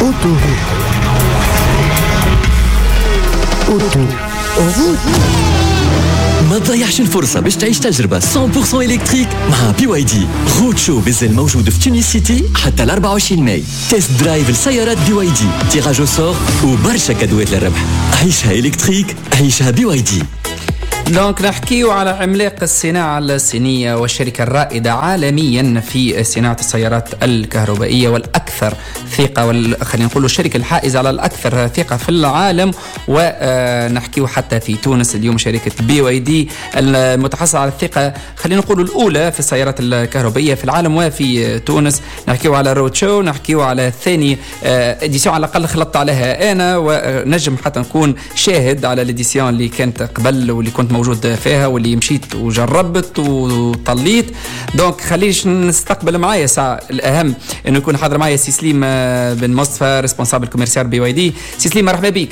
Autoroute. Auto. Route. ما تضيعش الفرصة باش تعيش تجربة 100% électrique مع BYD. Road Show مازال موجود في تونس سيتي حتى ل 24 ماي. test drive لسيارات BYD، tirage au sort وبرشا كادوات للربح. عيشها électrique، عيشها BYD. donc نحكيو على عملاق الصناعة الصينية والشركة الرائدة عالميا في صناعة السيارات الكهربائية والأكثر ثقة، خلينا نقولوا الشركة الحائزة على الأكثر ثقة في العالم، ونحكيو حتى في تونس اليوم شركة BYD المتحصلة على الثقة، خلينا نقولوا الأولى في السيارات الكهربائية في العالم وفي تونس. نحكيو على road show، نحكيو على ثاني édition على الأقل خلطت عليها أنا، ونجم حتى نكون شاهد على l'édition اللي كانت قبل واللي كنت موجود فيها واللي مشيت وجربت وطليت. donc خليش نستقبل معايا ساعة، الأهم انه يكون حاضر معايا سي سليم بن مصطفى، responsable commercial BYD. سي سليم مرحبا بك.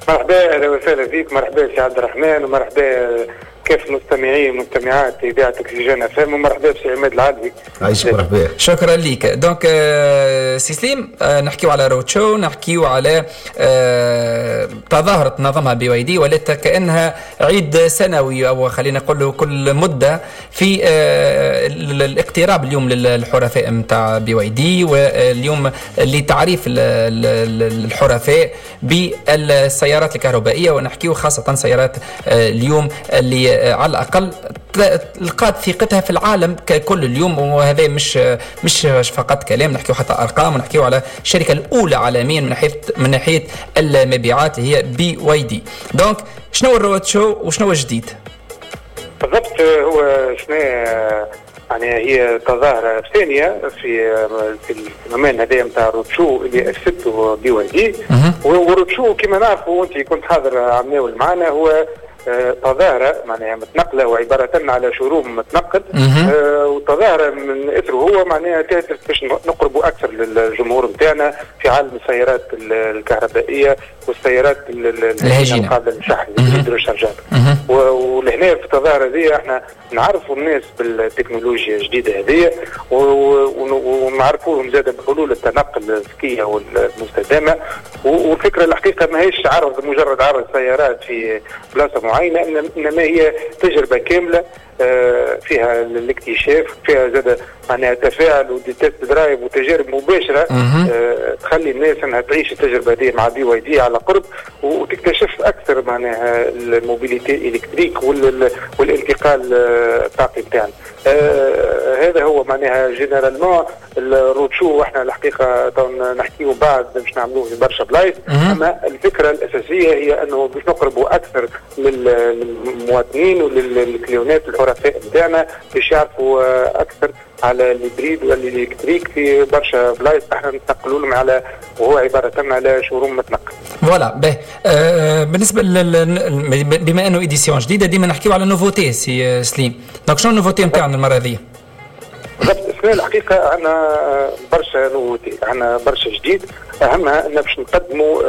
مرحبا، اهلا وسهلا بك. مرحبا سي عبد الرحمن، ومرحبا كيف مستمعي ومستمعات اذاعة اكسجين اف ام، ومرحبا بسي عماد العدلي. عايشك، مرحبا. شكرا لك. donc سي سليم، نحكيو على road show، نحكيو على تظاهرة نظمها BYD ولات كانها عيد سنوي، او خلينا نقول كل مده، في الاقتراب اليوم للحرفاء نتاع BYD، واليوم لتعريف الحرفاء بالسيارات الكهربائيه، ونحكيو خاصة سيارات اليوم اللي على الاقل لقات ثقتها في العالم ككل اليوم. وهذا مش فقط كلام، نحكيو حتى ارقام، ونحكيو على الشركة الاولى عالميا من ناحيه المبيعات هي BYD. donc شنو ال road show وشنو الجديد؟ بالضبط، هو شنو يعني هي تظاهرة ثانية في ال phénomène هذا نتاع road show اللي أسسته BYD. و road show كما نعرفوا، وانت كنت حاضر عمناول معنا، هو تظاهرة معناها متنقلة وعبارة على showroom متنقل، وتظاهرة من اثره هو معناها تهدف باش نقربوا أكثر للجمهور نتاعنا في عالم السيارات الكهربائية والسيارات الهجينة. القابلة للشحن، rechargeables. ولهنا في التظاهرة هذه احنا نعرفوا الناس بالتكنولوجيا الجديدة هذه، ونعرفوهم زاد بحلول التنقل الذكية والمستدامة. والفكرة الحقيقة ماهيش عرض، مجرد عرض سيارات في بلاصة معينة، انما هي تجربة كاملة فيها الاكتشاف، فيها زاد معناها تفاعل و des test drive وتجارب مباشرة تخلي الناس انها تعيش التجربة هذه مع BYD على قرب، وتكتشف اكثر معناها ال mobilité électrique والانتقال الطاقي نتاعنا. هذا هو معناها généralement ال road show. واحنا الحقيقة نحكيو بعد باش نعملوه في برشا بلايص، اما الفكرة الاساسية هي انه باش نقربوا اكثر للمواطنين ولل clients الحرفاء نتاعنا باش يعرفوا اكثر على l'hybride وال électrique في برشا بلايص. احنا نتنقلوا لهم على وهو عبارة على showroom متنقل. voilà، باهي. بالنسبة بما انه édition جديده، ديما نحكيو على nouveautés سي سليم، donc شنو ال nouveauté نتاعنا المرة هذه؟ بالضبط، السنة الحقيقة عندنا برشا nouveautés، عندنا برشا جديد. اهمها ان باش نقدموا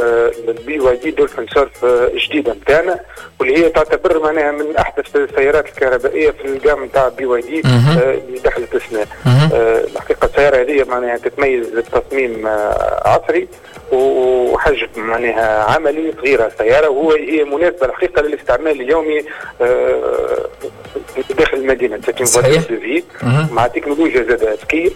ال BYD Dolphin Surf جديدة نتاعنا، واللي هي تعتبر معناها من احدث السيارات الكهربائية في ال gamme نتاع BYD اللي دخلت السنه. الحقيقة السيارة هذه معناها تتميز بتصميم عصري وحجم معناها عملي، صغيرة السياره، وهو هي مناسبة الحقيقة للاستعمال اليومي داخل المدينه. مع تكنولوجيا زاد ذكية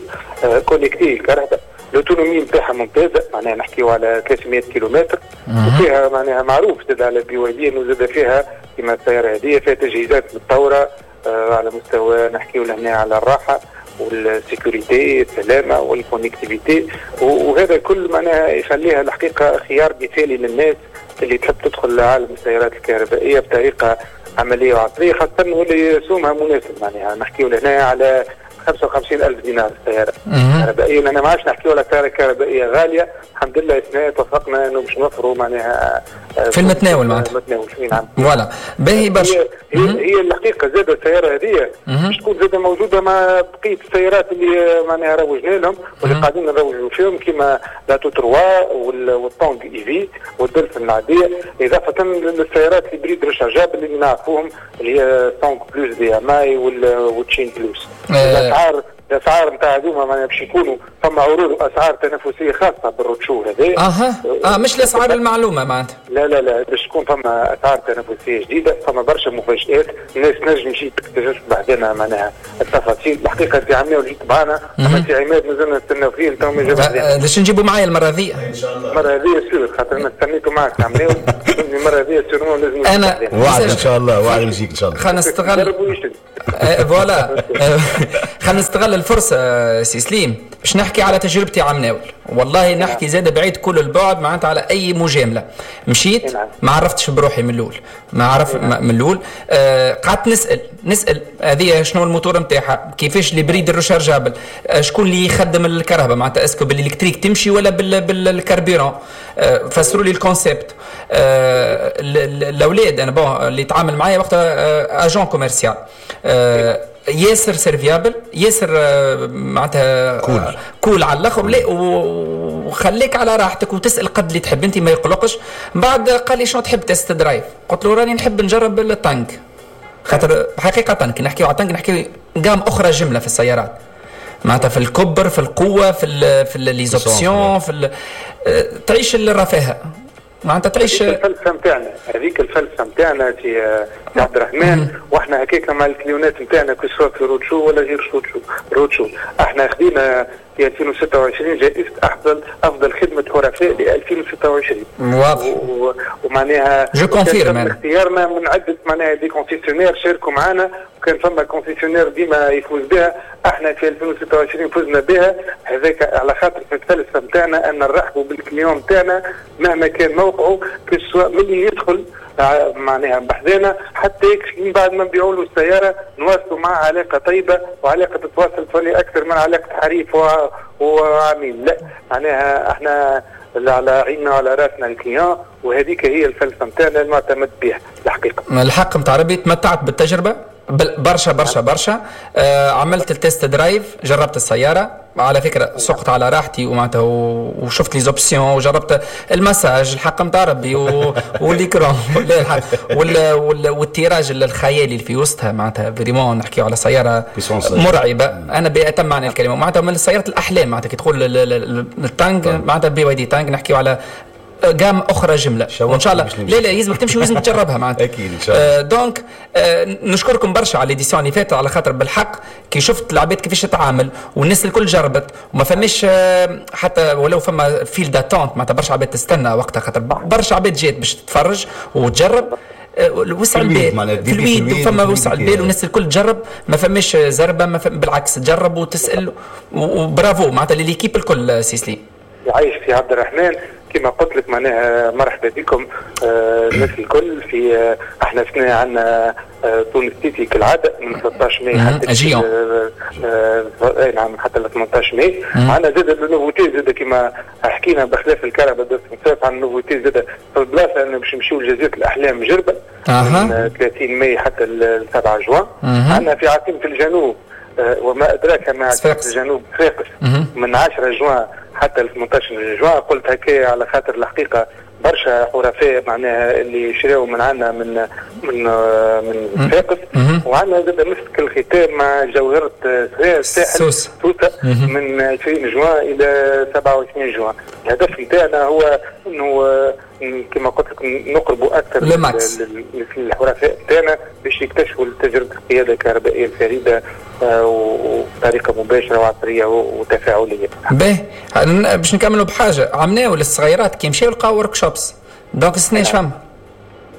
connectée، الكرهبه l'autonomie نتاعها ممتازه، معناها نحكيو على 300 كيلومتر، وفيها معناها معروف زاد على BYD انه زاد فيها كما السيارة هذه فيها تجهيزات متطورة على مستوى، نحكيو لهنا على الراحة وال sécurité، السلامة وال connectivité، وهذا كل معناها يخليها الحقيقة خيار مثالي للناس اللي تحب تدخل لعالم السيارات الكهربائية بطريقة عملية وعصريه، خاصة واللي سومها مناسب، معناها نحكيو لهنا على 55 ألف دينار السيارة كهربائية. أنا ما عادش نحكيو على سيارة كهربائية غالية، الحمد لله السنة اتفقنا انه باش نوفروا معناها في المتناول معناتها. المتناول، نعم. voilà، باهي برشا. هي الحقيقة زاد السيارة هذه باش تكون زاد موجودة مع بقية السيارات اللي معناها روجنا لهم واللي قاعدين نروجوا فيهم، كيما l'Atto 3 وال Tang EV وال Dolphin العادية، إضافة للسيارات ال hybrides rechargeables اللي نعرفوهم، اللي هي Song Plus DM-i وال Qin Plus. الأسعار الاسعار نتاع هذوما معناها باش يكونوا فما عروض واسعار تنافسية خاصة بال road show هذا. اها مش الاسعار المعلومة معناتها. لا لا لا، باش تكون فما اسعار تنافسية جديدة، فما برشا مفاجات، الناس تنجم تجي تكتشف بعدنا معناها التفاصيل. الحقيقة انت عملنا وجيت معنا، اما سي عماد مازلنا نستناو فيه تو ما جاب. باش نجيبوا معايا المرة هذه ان شاء الله. المرة هذه sûr خاطر انا استنيتو معك عملنا المرة هذه sûrement لازم انا وعد ان شاء الله، وعد نجيك ان شاء الله. خلينا نستغل voilà، خلينا نستغل الفرصة سي سليم باش نحكي على تجربتي عم ناول. والله نحكي زاد بعيد كل البعد معناتها على اي مجاملة. مشيت ما عرفتش بروحي من الاول، ما عرف من الاول، قعدت نسال هذه شنو الموتور نتاعها، كيفاش l'hybride rechargeable، شكون اللي يخدم الكرهبه معناتها est-ce que بال électrique تمشي ولا بال carburant، فسروا لي ال concept. الاولاد انا bon اللي تعامل معايا وقتها agent commercial ياسر serviable، ياسر معناتها cool cool على الاخر، لا وخليك على راحتك وتسال قد اللي تحب انت ما يقلقش. بعد قال لي شنو تحب test drive؟ قلت له راني نحب نجرب ال Tang، خاطر حقيقة كي نحكيو على Tang نحكيو gamme اخرى جملة في السيارات معناتها في الكبر، في القوه، في les options، في تعيش الرفاهه معناتها تعيش الفلسفة نتاعنا، هذيك الفلسفة نتاعنا في عبد الرحمن. واحنا هكاك مع ال client نتاعنا que ce soit في road show ولا غير road show. احنا خدينا في 2026 جائزة افضل خدمة حرفاء ل 2026. واضح. ومعناها je confirme اختيارنا من عده معناها des concessionnaires شاركوا معنا، وكان فما concessionnaire ديما يفوز بها، احنا في 2026 فزنا بها. هذاك على خاطر في الفلسفة نتاعنا ان نرحبوا بال client نتاعنا مهما كان موقعه، que ce soit من اللي يدخل معناها بحذانا حتى من بعد ما نبيعوا له السيارة نواصلوا معه علاقة طيبة وعلاقة تتواصل تولي اكثر من علاقة حريف وعميل. لا معناها احنا على عيننا وعلى راسنا ال client، وهذيك هي الفلسفة نتاعنا المعتمد بها الحقيقة. الحق نتاع ربي تمتعت بالتجربة برشا برشا برشا. عملت ال test drive، جربت السيارة على فكرة، سقت على راحتي ومعناتها وشفت les options وجربت المساج الحق نتاع ربي و l'écran وال tirage الخيالي اللي في وسطها معناتها vraiment نحكيو على سيارة مرعبة انا بأتم معنى الكلمه، معناتها من سيارة الاحلام. معناتها كي تقول ال Tang معناتها BYD Tang نحكيو على gamme اخرى جمله، وان شاء الله لا لا يلزمك تمشي ولازم تجربها معناتها. اكيد ان شاء الله. donc نشكركم برشا على l'édition اللي فاتت، على خاطر بالحق كي شفت العباد كيفاش تتعامل والناس الكل جربت وما فماش حتى ولو فما file d'attente معناتها برشا عباد تستنى وقتها، خاطر برشا عباد جات باش تتفرج وتجرب. وسع البال في الويد فما وسع البال والناس الكل تجرب، ما فماش زربه، ما فم بالعكس تجرب وتسال، وبرافو معناتها l'équipe الكل سي سليم. يعيش في عبد الرحمن، كما قلت لك معناها مرحبا بكم الناس الكل في احنا سنة عندنا تونس سيتي كالعادة من 13 ماي حتى نعم حتى 18 ماي. عندنا زاد ال nouveauté زاد كما حكينا بخلاف الكرهبه عندنا nouveauté زاد في البلاصة انه باش نمشيو لجزيرة الاحلام جربه من 30 ماي حتى 7 جوان. عندنا في عاصمة الجنوب وما ادراك ما عاصمة الجنوب صفاقس من 10 جوان حتى 18 جوان. قلت هكايا على خاطر الحقيقة برشا حرفاء معناها اللي شراو من عندنا من من من صفاقس. وعندنا زاد مسك الختام مع جوهره الساحل سوسة من 20 جوان الى 27 جوان. الهدف نتاعنا هو انه كما قلت لك نقربوا اكثر للحرفاء نتاعنا باش يكتشفوا تجربه القيادة الكهربائية الفريدة وبطريقة مباشرة وعصريه وتفاعليه. باهي باش نكملوا بحاجة عملناو للصغيرات كي مشاو لقاو workshops، donc السنة اش فما؟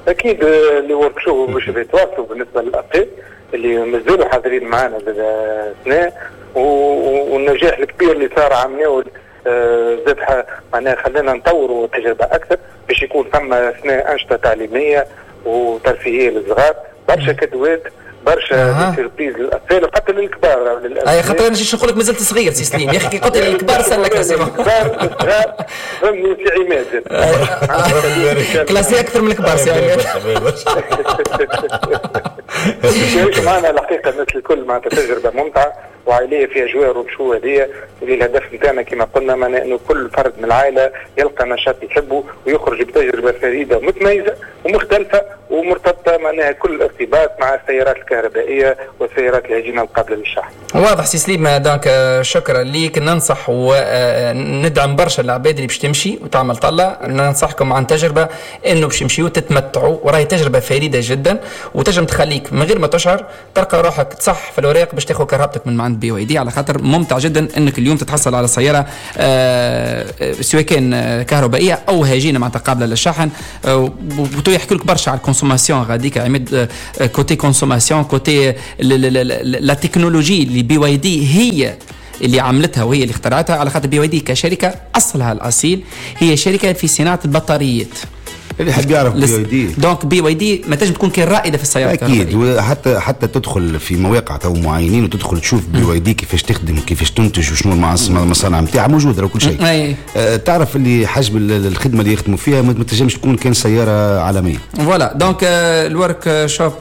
اكيد les workshops باش يتواصلوا بالنسبة للاطفال اللي مازالوا حاضرين معنا السنة، والنجاح الكبير اللي صار عملناه زاد معناها خلانا نطوروا التجربة اكثر باش يكون فما سنة انشطة تعليمية وترفيهيه للصغار، برشا cadeau ات، برشا surprises للاطفال وحتى للكبار. اي خاطر انا جيت نقول لك مازلت صغير سي سليم يا اخي، كي قلت لي الكبار سلك الكبار الصغار فهمني سي عماد classé اكثر من الكبار سي عماد. يعيش معنا الحقيقة الناس الكل معناتها تجربه ممتعة وعائليه فيها اجواء road show هذه، اللي الهدف نتاعنا كما قلنا معناها انه كل فرد من العائلة يلقى نشاط يحبه ويخرج بتجربه فريدة ومتميزه ومختلفة ومرتبطة معناها كل ارتباط مع السيارات الكهربائية والسيارات الهجينه القابلة للشحن. واضح سي سليم، donc شكرا ليك. ننصح وندعم برشا العباد اللي باش تمشي وتعمل طلة، ننصحكم عن تجربه انه باش تمشيو تتمتعوا، وراهي تجربه فريدة جدا وتنجم تخليك من غير ما تشعر تلقى روحك تصح في الاوراق باش تاخذ كرهبتك من عند BYD، على خاطر ممتع جدا انك اليوم تتحصل على سيارة سواء كان كهربائية او هجينه معناتها قابله للشحن. وتو يحكي لك برشا على ال consommation غاديك عماد، côté consommation، côté la technologie اللي BYD هي اللي عملتها وهي اللي اخترعتها، على خاطر BYD كشركة اصلها الاصيل هي شركة في صناعة البطاريات. اللي يحب يعرف BYD، donc BYD ما تنجم تكون كان رائدة في السيارات. اكيد، وحتى تدخل في مواقع تو معينين وتدخل تشوف BYD كيفاش تخدم وكيفاش تنتج وشنو المصانع نتاعها موجودة وكل شيء. تعرف اللي حجم الخدمة اللي يخدموا فيها ما تنجمش تكون كان سيارة عالمية. voilà donc ال workshop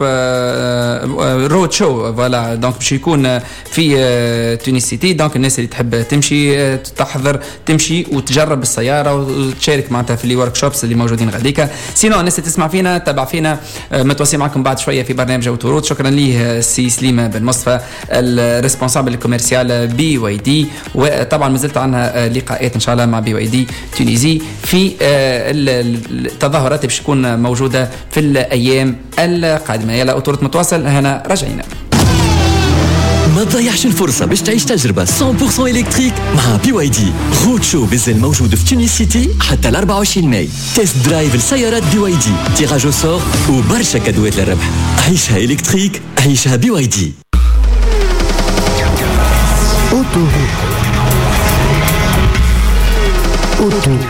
road show، voilà donc باش يكون في Tunis City. donc الناس اللي تحب تمشي تحضر تمشي وتجرب السيارة وتشارك معناتها في les workshops اللي موجودين غاديكا. sinon الناس اللي تسمع فينا تبع فينا، متواصلين معكم بعد شوية في برنامج Autoroute. شكرا ليه سي سليم بن مصطفى ال responsable commercial BYD، وطبعا مازلت عندنا لقاءات ان شاء الله مع BYD Tunisie في التظاهرات اللي باش تكون موجودة في الايام القادمة. يلا Autoroute متواصل هنا رجعينا. ما تضيعش الفرصة باش تعيش تجربة 100% électrique مع BYD. road show مازال موجود في Tunis City حتى ال 24 ماي. test drive لسيارات BYD، tirage au sort وبرشا كادوات للربح. عيشها électrique، عيشها BYD. Autoroute. Autoroute.